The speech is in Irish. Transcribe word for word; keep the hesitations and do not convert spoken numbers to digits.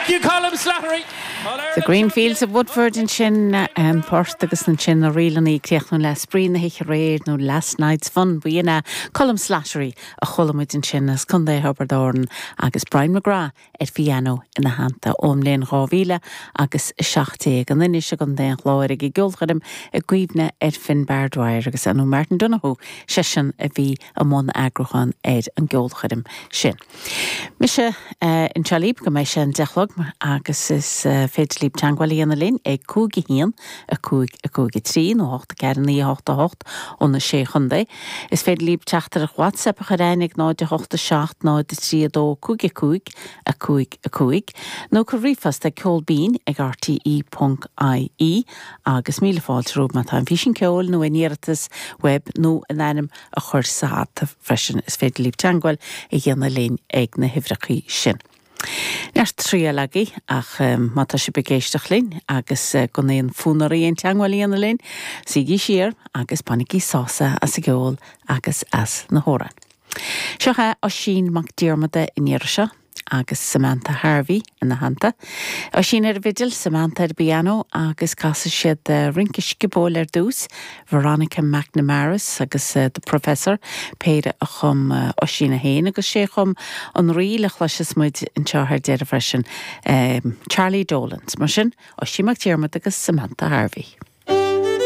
Thank you, Colm Slattery. The Green Fields of Woodford ansin an port agus ansin na rílanna ag críochnú le Spraoi na hoíche aréir nó Last Night's Fun b'in é Colm Slattery a chuala muid ansin as Contae Thiobraid Árann agus Brian McGrath ar piano ina theannta ón mbliain dhá mhíle agus a seacht déag an Inis i gContae an Chláir ag an gceolchoirm i gcuimhne ar Finbar Dwyer agus anu Martin Donoghue seisean a bhí i mbun eagrúcháin ar an gceolchoirm sin. Mise anseo libh go mbeidh sé an deich a chlog agus is féidir libh teagmháil a dhéanamh linn ag cúig a haon a cúig a cúig a trí nó hocht a ceathair naoi a hocht a hocht ó na sé chontae. Is féidir libh teachtaireacht WhatsApp a chur chugainn ag náid a hocht a seacht náid a trí a dó cúig a cúig a cúig a cúig nó cuir ríomhphost ag ceolbinn ag RTE ponc IE agus míle fáilte romhaibh má tá an físeán ceoil nó an iarratas web nó an ainm a chur sa hata freisin is féidir libh teagmháil a dhéanamh linn ag na huimhreacha sin. Neart triail agaibh ach um, má tá sibh ag éisteacht linn agus uh, gan aon fhonn oraibh aon teagmháil a dhéanamh linn, suígí siar agus bainigí sásamh as an gceol agus as na hamhráin. Seo é Oisín Mac Diarmada in seo agus Samantha Harvey ina theannta. Oisín ar bhfidil Samantha ar piano agus casfaidh siad uh, rince sciobóil ar dtús, Veronica McNamara's agus uh, the Professor péire a chum uh, Oisín féin agus sé chum an ríl a chloisfidh muid anseo ar deireadh freisin um, Charlie Dolans, mar sin Oisín Mac Diarmada agus Samantha Harvey.